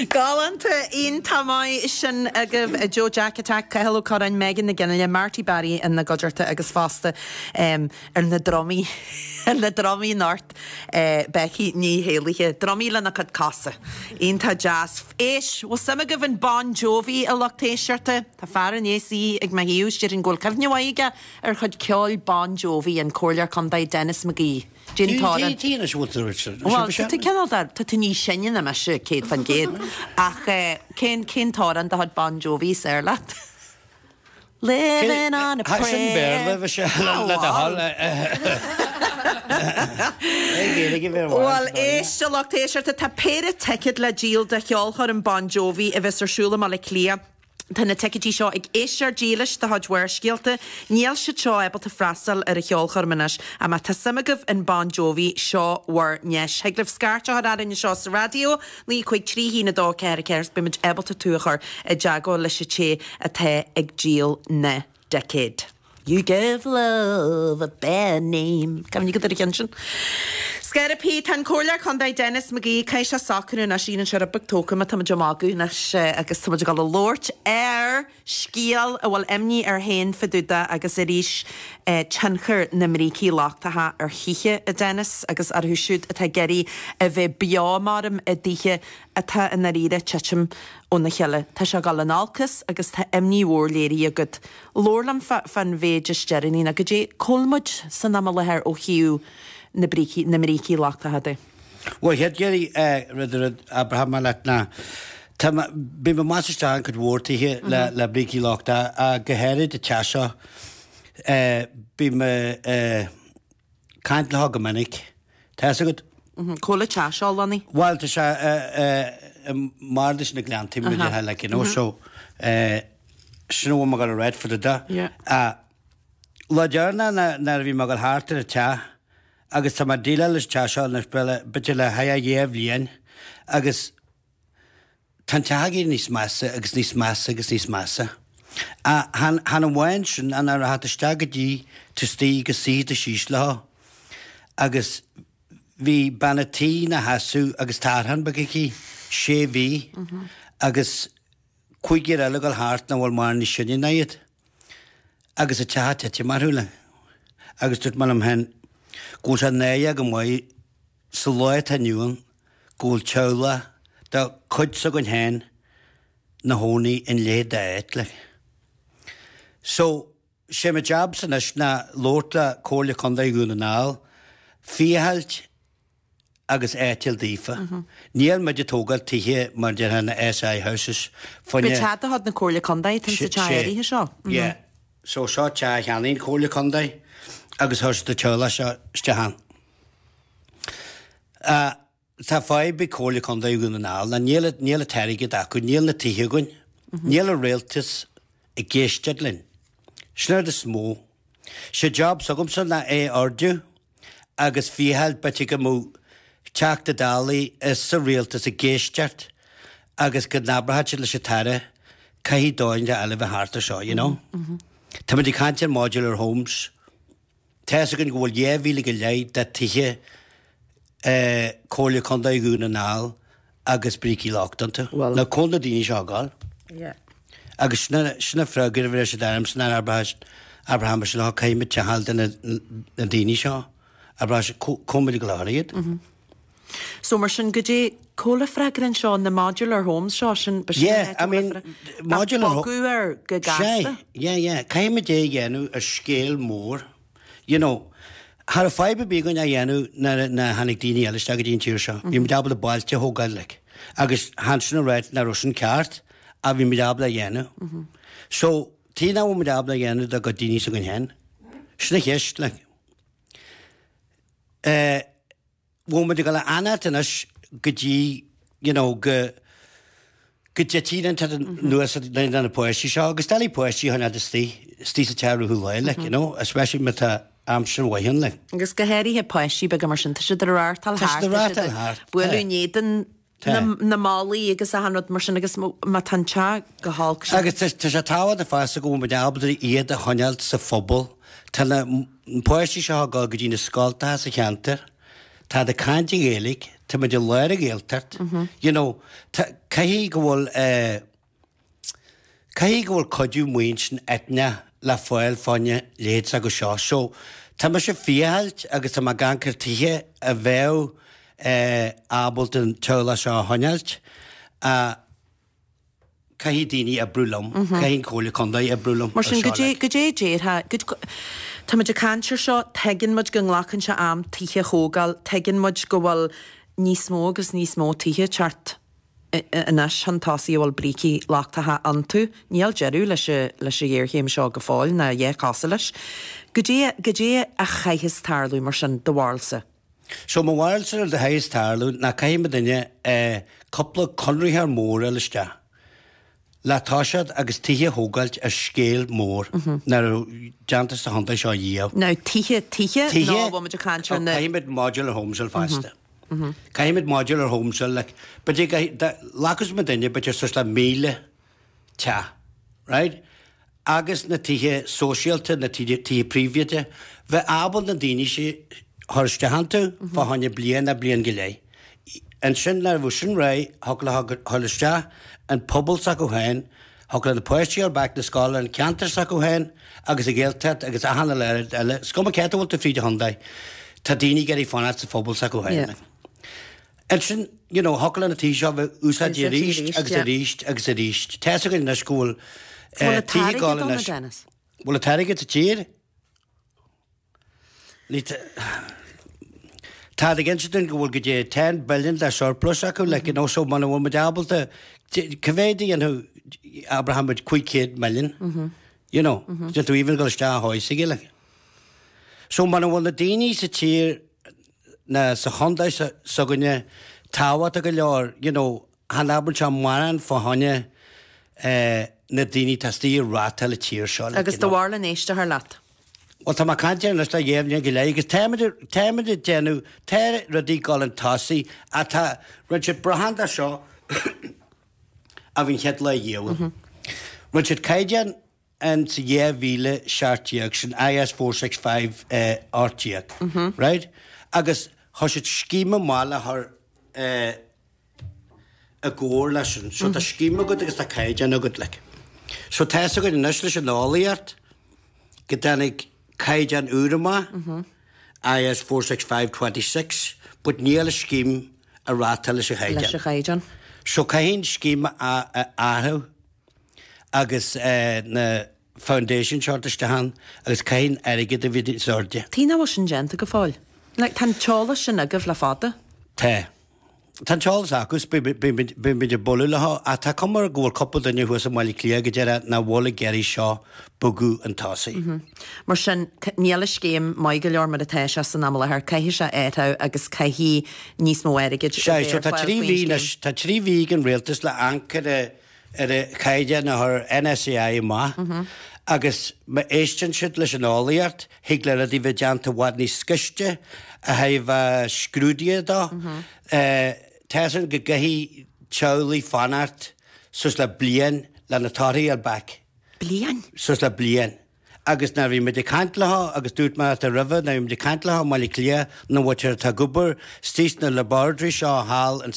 Galánta, iontach maith sin agaibh Joe Jack Attack, Cathal Ó Curráin, Megan Nic Fhionnghaile, Marty Barry ina gcuideachta agus fosta ar na drumaí, ar na drumaí anocht, Becky Ní hÉallaithe. Drumaí lena cuid cosa. Iontach deas. Éist, bhfuil suim agaibh in Bon Jovi, a lucht éisteachta? Tá fear i ndiaidh suí ag mo thaobh, is déarfainn go bhfuil cuimhne mhaith aige ar chuid ceoil Bon Jovi, an Comhairleoir Contae Denis McGee. Cén t-amhrán. Tí anois a bhfuil tú Richard. Bhuel, tá tú cineál de, tá tú níos sine ná mise, 100%. Ach cén, cén t-amhrán de chuid Bon Jovi is fearr leat? Living on a prayer. Sin Béarla, bhí sé le do thoil. Bhuel, éist a lucht éisteachta, tá péire ticéad le díol do cheolchoirm Bon Jovi a bheas ar siúl i mBaile Átha Cliath. Tá na ticéidí seo ag éisteoir dílis de chuid Bharrscéalta. Níl siad seo ábalta freastal ar an cheolchoirm anois, ach má tá suim agaibh in Bon Jovi, seo bhur ndeis. Thig libh scairt a chur orainn anseo sa raidió, 9 5 3 1 2 4 4 agus beidh muid ábalta tú a chur i dteagmháil leis an té atá ag díol na dticéad. You give love a bad name. Cuimhnigh agat ar an cheann sin. Scairt Tá an Comhairleoir Contae Denis McGee, caithfidh sé socrú anois, éiríonn sé rud beag tógtha má tá muid ag magadh anois agus tá muid ag dul a labhairt ar scéal a bhfuil imní air féin fá dtaobh de agus arís tionchar na mbrící lochtacha ar thithe, a Dennis, agus orthu siúd atá ag iarraidh a bheith beo maram i dtithe atá i ndáiríre ag titim óna chéile. Tá sé ag dul in olcas agus tá imní mhór léirithe agat. Labhair liom fán mhéid is deireanaí ná goidé cá bhfuil muid san am i láthair ó thaobh na brící, na mbrící lochtacha de. Bhuel, chéad Gary, rud a rud abraitheadh mé leat ná tá mé, bhí mé amach is isteach in cuid mhór tithe le, le brící lochtacha ach go háirid an teach seo, bhí mé caint leo go minic. Tá fhios agat? Cá bhfuil an teach seo lonnaithe? Bhuel, tá sé i mBardas na Gleanntaí, mar a déarfá, like, you know, so sin a bhfuil mé ag dul a ráit fá dtaobh de. Lá deireanach nuair a bhí mé ag dul thart ar an teach agus tá mé ag déileáil leis an teach seo anois b'fhéidir le haghaidh dhá bhliain agus Tá an teach ag éirí níos measa agus níos measa agus níos measa. Ach chan amháin sin, ach nuair a theacht isteach go dtí tú istigh go suífidh tú síos leo agus bhí bean a' tí ina sheasamh agus tarrthán beag aici, sé mhí, agus cúigear eile ag dul thart nach bhfuil mórán níos sine ná iad agus an teach ag titim orthu like. Agus dúirt mé liom féin go bhfuil sé náireach go maith sa lá atá inniu ann go bhfuil teaghlach de chuid s'againn féin 'na chónaí in leithéid d'áit like. So, sé mo jobsa anois ná labhairt le Comhairle Contae Dhún na nGall, féachailt agus áit a fháil daofa. Níl muid ag tógáil tithe mar déarfá na SI houses fá choinne. Ba teach de chuid na Comhairle Contae atá sa teach áirithe seo. Yeah. So seo teach a cheannaigh an Chomhairle Contae agus chuir siad an teaghlach seo isteach ann. Tá fadhb ag Comhairle Contae Dhún na nGall ná níl níl an t-airgead acu, níl na tithe againn, níl an rialtas ag éisteacht linn. Sin an rud is mó. Sé job s'agamsa ná é a ardú agus féacháil b'fhéidir go mbeadh Teachta Dála is sa rialtas ag éisteacht agus go n-abródh siad leis an tAire caithfidh dóigh eile a bheith thart ar seo, you know. Táimid ag caint ar modular homes. Tá fhios againn go bhfuil 2,000 go leith de tithe Comhairle Contae Dhún na nGall agus brící lochtacha iontu. Now cá bhfuil na daoine seo ag gabháil. Agus sin an freagra a bhí siad ormsa nuair a abraim sin caithfidh muid teach a fháil do na daoine seo. Abraim cá bhfuil muid ag gabháil a chur iad. So mar sin goidé cá bhfuil an freagra anseo, na modular homes seo, sin, ba sin Yeah, I mean, modular homes. Bogadh air go gasta. Sea, yeah, yeah. Caithfidh muid é a dhéanamh ar scéal mór. You know, cha raibh fadhb ar bith againn é a dhéanamh nuair a tháinig daoine eile isteach go dtí an tír seo. Bhí muid ábalta bailte a thógáil, like. Agus chan sin a ráit nach raibh sin ceart, ach bhí muid ábalta é a dhéanamh. So, tuige nach bhfuil muid ábalta é a dhéanamh do gcuid daoine s'againn féin? Sin an cheist, like. Eh, bhfuil muid ag dul a fhanacht anois go dtí you know go go dtitfidh an t-rud anuas ar na páistí seo agus doiligh páistí a choinneáil istigh istigh sa teach i rith an lae like you know especially má tá aimsir mhaith ann like. Agus go háirithe páistí beaga mar sin, tá siad ag reáchtáil thart, tá siad ag bualadh in éadan na mballaí agus achan rud mar sin agus má tá an teach go holc sin. Agus tá sé tábhachtach fosta go bhfuil muid ábalta iad a choinneáil sa phobal. Tá na páistí seo ag dul go dtí na scoltacha sa cheantar. Táid ag caint i nGaeilge, tá muid i lár an Ghaeltacht, you know, tá, caithfidh go bhfuil eh, caithfidh go bhfuil cuidiú maoin eitneach le fáil fá choinne leithéid s'acu seo. So, tá mise ag fiachailt agus tá mé ag amharc ar tithe a bheadh eh, ábalta an teaghlach seo a choinneáilt, ach Caithfidh daoine oibriú liom, caithfidh an Chomhairle Contae oibriú liom Mar sin, goidé, goidé a déarfá, tá muid ag caint ar seo, tuigeann muid go nglacann sé am tithe a thógáil, tuigeann muid go bhfuil níos mó agus níos mó tithe ag teacht anois chun tosaigh a bhfuil brící lochtacha iontu. Níl deireadh leis an, leis an ghéarchéim seo go fóill, ná a dhath cosúil leis. Goidé, goidé a chaithfeas tarlú mar sin, do bharúilsa? So mo bharúilsa rud a chaithfeas tarlú ná caithfidh muidinne cúpla conraitheoir mór a fháil isteach le toiseacht agus tithe a thógáilt ar scéal mór nach raibh déanta sa chontae seo riamh. Now tithe, tithe nó an bhfuil muid ag caint ar na. Caithfidh muid modular homes a fháil feasta. Caithfidh muid modular homes a fháil like b'fhéidir go nglacfas muidinne b'fhéidir suas le 1,000 teach, right? agus na tithe sóisialta, na tithe príobháideacha, bheith ábalta na daoine sin a chur isteach iontu fá choinne bliain nó bliain go leith. Ansin nuair a bheadh sin réidh, thiocfadh leo a dhul isteach an pobal s'acu féin, thiocfadh le na páistí a dhul back na scoile an ceantar s'acu féin agus an Ghaeltacht agus achan uile rud eile. Is cuma cé áit a bhfuil tú fríd an chontae, tá daoine ag iarraidh fanacht sa phobal s'acu féin. Ansin, you know, thiocfadh le na tithe seo a bheith úsáidte arís agus arís agus arís. Tá fhios againn anois go bhfuil Bhfuil an tithe ag gabháil anois. Dennis? Bhfuil an t-airgead sa tír? Ní Táid ag inse dúinn go bhfuil go dtí 10 billion de surplus acu, like, you know, so muna bhfuil muid ábalta, cá mhéad a dhéanfadh, abraíonn muid 500 million, you know, déanann tú even dul isteach a thomhas aige, like. So muna bhfuil na daoine sa tír ná sa chontae s'againne tábhachtach go leor, you know, chan oibreann sé mórán fá choinne na daoine atá istigh ag reáchtáil an tír seo, like, Agus do bharúil an éisteofar leat? Bhuel, tá mé ag caint air anois le dhá bhliain go leith agus táimid, táimid ag déanamh, tá rudaí ag dul chun tosaigh ach tá, rinne siad brachán de seo a bhí an chéad lá dhiabhail. Rinne siad caighdeán in sa 2017, sin IS 465 18, right? Agus chuir siad scéim amach le chur i gcomhar leis sin. So tá scéim agat agus tá caighdeán agat, like. So tá fhios againn anois leis an eolaíocht go dtáinig caighdeán úr amach, IS 465 26, but níl an scéim ag reáchtáil leis an chaighdeán. Leis an chaighdeán. So caithfidh an scéim a athrú. agus na foundations a thabhairt isteach ann agus caithfidh an airgead a bheith níos airde. Tuige nach bhfuil sin déanta go fóill? Like, tá an t-eolas sin agaibh le fada. Tá. Tá an t-eolas acu is beidh muid ag bualadh leo ach tá cuma go bhfuil cúpla duine thuas i mBaile Átha Cliath go deireadh nach bhfuil ag iarraidh seo bogadh chun tosaigh. Mar sin, níl an scéim maith go leor mar atá sé san am i láthair. Caithfidh sé athrú agus caithfidh níos mó airgid a bheith ar fáil faoin scéim. Tá trí mhí ag an rialtas le amharc ar a ar an chaighdeán a chuir NSAI amach agus má éisteann siad leis an eolaíocht, thig le rudaí bheith déanta i bhfad níos gaiste ó thaobh scrúduithe dó. Tá fhios againn go gcaithfidh teaghlaigh fanacht suas le bliain le na torthaí a fháil back. Bliain? Suas le bliain. Agus nuair a bhí muid ag caint leo, agus dúirt mé leat roimhe, nuair a bhí muid ag caint leo i mBaile Átha Cliath, na mhuintir atá ag obair istigh sna laboratories seo thall in.